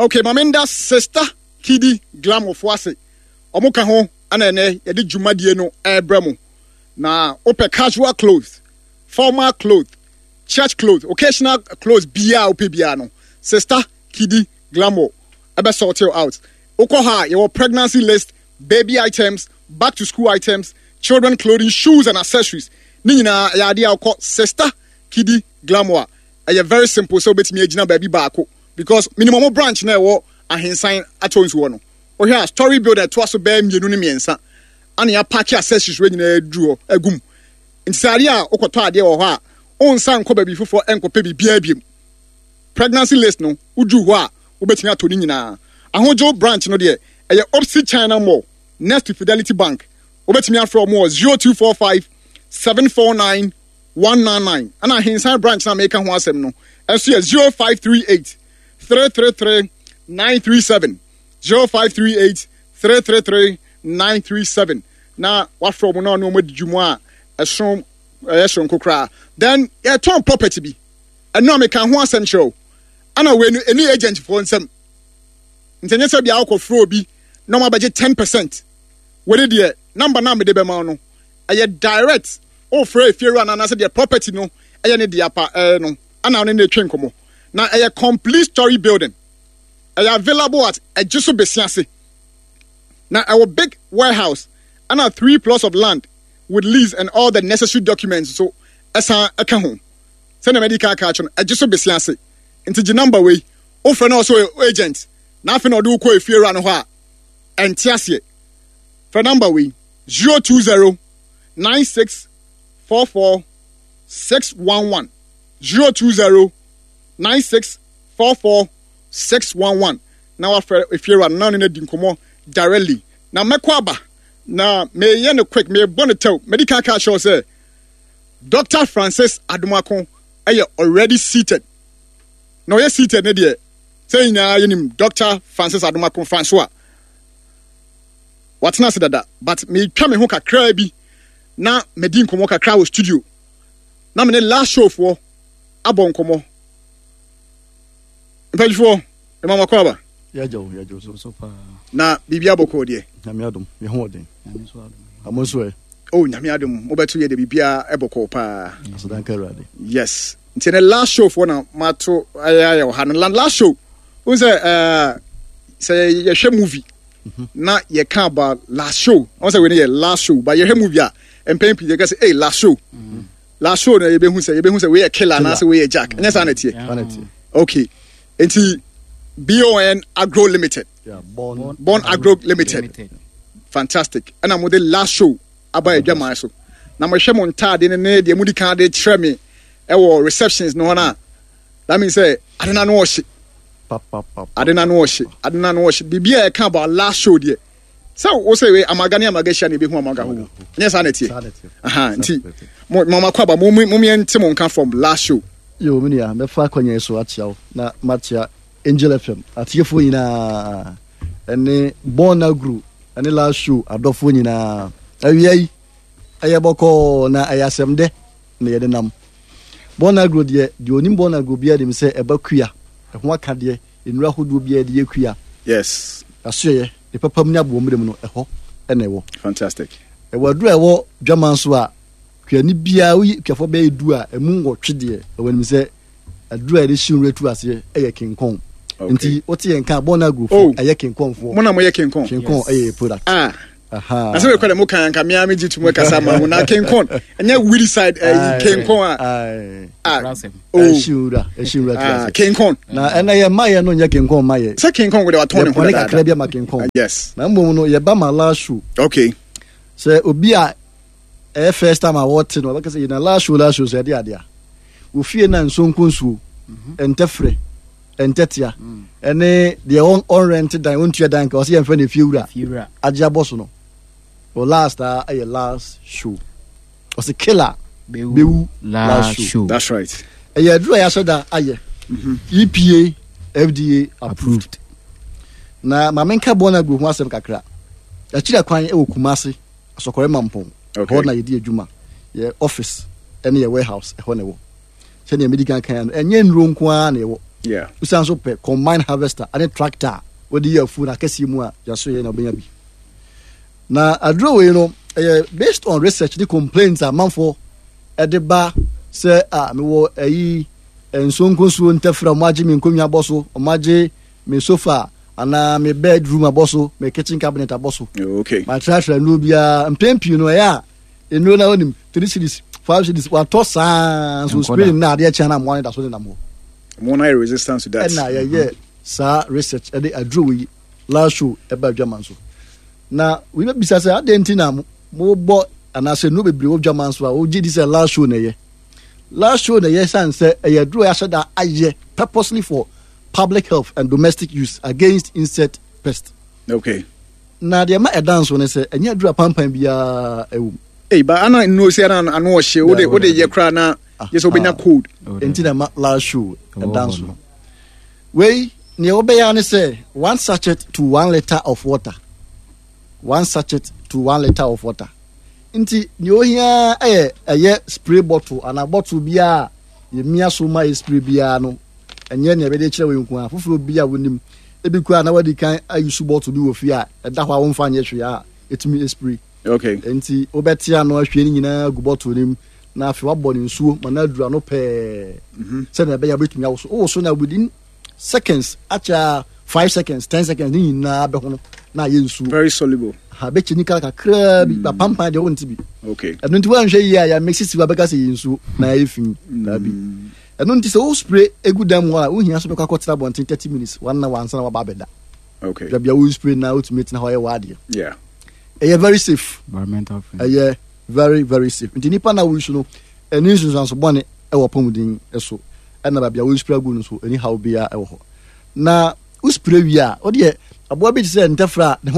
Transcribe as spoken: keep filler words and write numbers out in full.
Okay, mamenda Sister Kidi Glamour ase. Ɔmo ka ho ana ɛnɛ yɛde dwumadie no ɛrebrɛ mo. Na wopɛ casual clothes, formal clothes, church clothes, occasional clothes biara wopɛ biara no, Sister Kidi Glamour ɛbɛ sort you out. Wokɔ ha a, yɛwɔ pregnancy list, baby items, back to school items, children clothing, shoes and accessories. Ne nyinaa ɛyɛ adeɛ a wokɔ Sister Kidi Glamour a, ɛyɛ very simple sɛ wobɛtumi agyina baabi baako because minimum mo branch na ɛwɔ Ahensan atɔ nsuo no. Wohwɛ a, story building ɛtoa so bɛyɛ mmienu ne mmiɛnsa ana yɛapack accessories wɔ nyinaa aduru hɔ agum. Nti sɛ adeɛ a wokɔtɔ adeɛ wɔ hɔ a, wonsa nkɔ baabi foforɔ nkɔpɛ biribiara biom. Pregnancy list no, woduru hɔ a, wobɛtumi atɔ ne nyinaa. Ahodwo branch no deɛ, ɛyɛ opposite China Mall, next to Fidelity Bank. Wobɛtumi afrɛ ɔmo wɔ zero two four five seven four nine one nine nine. Ɛna Ahensan branch na meka ho asɛm no ɛnso yɛ zero five three eight three three three nine three seven, zero five three eight three three three nine three seven. Na wafrɛ ɔmo na ɔne ɔmo adi dwuma a ɛso ɛyɛ soronko koraa. Then yɛtɔn property bi, ɛno a meka ho asɛm kyerɛ o. Ana wei no ɛni agent foɔ nsɛm, nti ɛnyɛ sɛ bia wokɔfrɛ obi na ɔmo abɛgye ten percent. Wei deɛ, number na mede bɛma wo no ɛyɛ direct. Wofrɛ efiewura no anaasɛ deɛ property no ɛyɛ ne deɛ pa ɛɛ no ana ɔne ne twe nkɔmmɔ. Na ɛyɛ complete story building, ɛyɛ available at ɛgye so besi ase. Na ɛwɔ big warehouse ɛna three plots of land with lease and all the necessary documents, so ɛsan ɛka ho. Sɛnea mɛdi kan aka akyerɛ no, ɛgye so besi ase. Nti gye number wei, wofrɛ no ɔsɛ agent na afei na ɔde wokɔ efiewura no hɔ a ɛnte aseɛ. Frɛ number wei, zero two zero nine six four four six one one, zero two zero nine six four four six one one. Na wafrɛ efiewura no na ɔne no adi nkɔmmɔ directly. Na mɛkɔ aba na meyɛ no quick, mebɔ no tɛw. Mɛdi kan aka akyerɛ sɛ Doctor Francis Adomako ɛyɛ already seated. Na ɔyɛ seated ne deɛ sɛ nyinaa yɛnim Doctor Francis Adomako Francois, watena ase dada, but metwa me ho kakraa bi na madi nkɔmmɔ kakra wɔ studio na me ne last show foɔ abɔ nkɔmmɔ. Mpanyinfoɔ, ɛma makɔ aba. Yɛagya wo, yɛagya wo so. So paa. Na biribi abɔkɔɔ deɛ? Nyame adom, yɛ ho ɔden. Nyame nso adom. Amo nso ɛ? Oh, Nyame adom, mobɛto yɛ de biribiara ɛbɔkɔɔ paa. Asedanka Awurade. Yes, nti ne last show foɔ na mato ayɛ ayɛ wɔ ha no. La- last show wohu sɛ ɛɛ, sɛ yɛhwɛ movie na yɛka about last show, wɔn sɛ wei no yɛ last show, but yɛhwɛ movie a, mpɛn pii yɛka sɛ, "Hey, last show, last show" na yɛbɛhu sɛ yɛbɛhu sɛ wei yɛ killer anaasɛ wei yɛ jack. Ɛnyɛ saa na ɛteɛ? Saa na ɛteɛ. Okay, nti Bon Agro Limited. Yeah, Born. Born Agro Limited. Limited. Fantastic. Ɛna mo de last show aba adwaman so na mohwɛ mo ntaade no ne deɛ modi kan de kyerɛ me ɛwɔ receptions no hɔ no a, that means sɛ ade no ano ɔhye. Pa, pa, pa, pa. Ade no ano ɔhye, ade no ano ɔhye. Biribi a ɛka about last show deɛ, sɛ wo sɛ wei amaga ne amaga hyia na ɛbɛhu amaga ho. Nyɛ saa na ɛteɛ? Saa na ɛteɛ. Aha, Saa nti na ɛteɛ. mo mo makɔ aba, mo mo yɛnte mo nka from last show. Yo, me nua, mɛfa akɔnya yi so akyea wo na makyea Angel F M atiefoɔ nyinaa ɛne Born Agro ɛne last show adɔfoɔ nyinaa. Awia yi ɛyɛ bɔkɔɔ na ɛyɛ asɛm dɛ na yɛde nam. Born Agro deɛ, deɛ onim Born Agro biara nim sɛ ɛba kua ɛho akadeɛ, nnuro ahodoɔ biara yɛde yɛ kua. Yes asoɛyɛ ne papam ne aboɔmmerɛ mu no, ɛhɔ ɛna ɛwɔ. Fantastic. Ɛwɔ aduro a ɛwɔ dwaman so a kuani biara, woyi kuafoɔ bɛyɛ du a, ɛmu nwɔtwe deɛ ɛwɔ anim sɛ aduro a yɛde hye nwura tu aseɛ ɛyɛ kinkɔn. Okay. Nti wote yɛn ka Bɔn Agrofo. Oh. Ɛyɛ kinkɔnfoɔ. Mo na moyɛ kinkɔn? Kinkɔn ɛyɛ yɛ product. Ah. Aha. Na sɛ mekɔ dɛ moka nka mea megye to mu kasa ma mo na kinkɔn ɛnyɛ weedicide ɛyi kinkɔn a? Aye. Ah. Brasem. Oh. Ɛhye nwura, ɛhye nwura tu Ah. aseɛ. Kinkɔn. Na ɛnɛ yɛ mma yɛ no nyɛ kinkɔn ma yɛ. Sɛ kinkɔn wode watɔn ne ho yɛpɔne kakra dadaada. bi ama kinkɔn. Yes na mmom no yɛba ma last show. Okay sɛ obi a ɛyɛ first time a wɔte no, ɔbɛka sɛ yɛna last show, last show sɛ ɛde adeɛ a ofie na nsonko nsuo, ɛntɛfrɛ, ɛntɛtea, ɛne deɛ ɔn- ɔnrɛnte dan, ɔntua dan ka, ɔsɛ yɛmfrɛ no efie wura. Fiewura. Agye abɔ so no o, last a ɛyɛ last show, ɔsɛ killer bɛwu last show. That's right. Ɛyɛ aduru a yɛahyɛ da ayɛ, E P A F D A approved. Approved. Na maame nka bɔn agro ho asɛm kakra. Akyiri kwan ɛwɔ Kumase Asɔkɔrɛ Mampɔn. Okay. Hɔ na yɛdi adwuma. Yɛ office ɛne yɛ warehouse ɛhɔ na ɛwɔ. Sɛdeɛ medi kan kan no, ɛnyɛ nnuro nko ara na ɛwɔ. Yeah. Wosan so pɛ combine harvester ane tractor a wɔde yɛ afuo no akɛseɛ mu a, yɛaso yɛ na wobɛnya bi. Na aduro wei no, ɛyɛ based on research ne complaints a amanfoɔ ɛde ba sɛ a mewɔ ɛyi nsonkonsuo ntɛfrɛ, ɔmo agye me nkonnwa abɔ so, ɔmo agye me sofa anaa me bedroom abɔ so, me kitchen cabinet abɔ so. Okay. Matratra nnuro biara mpɛn pii no, ɛyɛ a nnuro na onim three cedis, five cedis, watɔ saa nso Nkɔda. spray na adeɛ kyɛn na mmoa no da so nenam hɔ. Mo na yɛ resistance to that. Ɛna yɛyɛ saa research ɛde aduro wei last show ɛba adwaman so. Na wei bɛbisa sɛ adeɛ nti na mobɔ anaasɛ nnuro bebree wɔ dwaman so a wogye di sɛ last show na ɛyɛ last show na ɛyɛ, san sɛ ɛyɛ aduro a yɛahyɛ da ayɛ purposely for public health and domestic use against insect pest. Okay. Na deɛ ma ɛda nso ne sɛ ɛnyɛ aduro apampan biara ɛwɔ mu. Hey, but ana nnuro sɛ ana ano ɔhye wode wode yɛ koraa na yɛ sɛ wobɛnya Ah. cold. Nti na ma last show Ɛwɔ ɛda hɔ nso no. no, wei nea wɔbɛyɛ ne sɛ one sachet to one litre of water, one sachet to one litre of water. Nti nea ohia ɛyɛ ɛyɛ spray bottle anaa bottle biara yɛmia so ma yɛ spray biara no. Ɛnyɛ nea yɛbɛde kyerɛ wɔ nko a foforɔ bi a wonim ebi koraa na wadi kan ayi su bottle bi wɔ fie a ɛda hɔ a wɔmfa nyɛ hwee a ɛtumi spray. Okay. Nti wobɛte ano ahwie no nyinaa gu bottle no mu na afei wabɔ ne nsuo ma no aduru ano pɛɛ sɛnea ɛbɛyɛ a wobɛtumi awoso. Wowoso na within seconds akyɛ, five seconds, ten seconds ne nyinaa bɛho no na ayɛ nsuo. Very soluble. Ha bɛkyɛ nika kakraa bi ba pampan deɛ wonte bi. Okay. Ɛno nti woanhwɛ yie a yɛamɛ sisi wa bɛka sɛ yɛ nsuo na ɛyɛ fi daabi. Ɛno nti sɛ wo spray egu dan mu hɔ a, wohia so bɛkɔ akɔtena abɔnten thirty minutes, one hour ansa na waba abɛda. Okay. Baabi a wo spray na wotumi tena hɔ ayɛ w'adeɛ. Yeah. Ɛyɛ very safe. Environmental friendly. Ɛyɛ very very safe. Nti nipa na woyi so no, ɛni nsunsuanso bɔne ɛwɔ pɔmuden so, ɛna baabi a woyi spray agu no so ɛni haw biara ɛwɔ hɔ. Na wo spray wie a, wodeɛ aboa bi te sɛ ntɛfrɛ a ne ho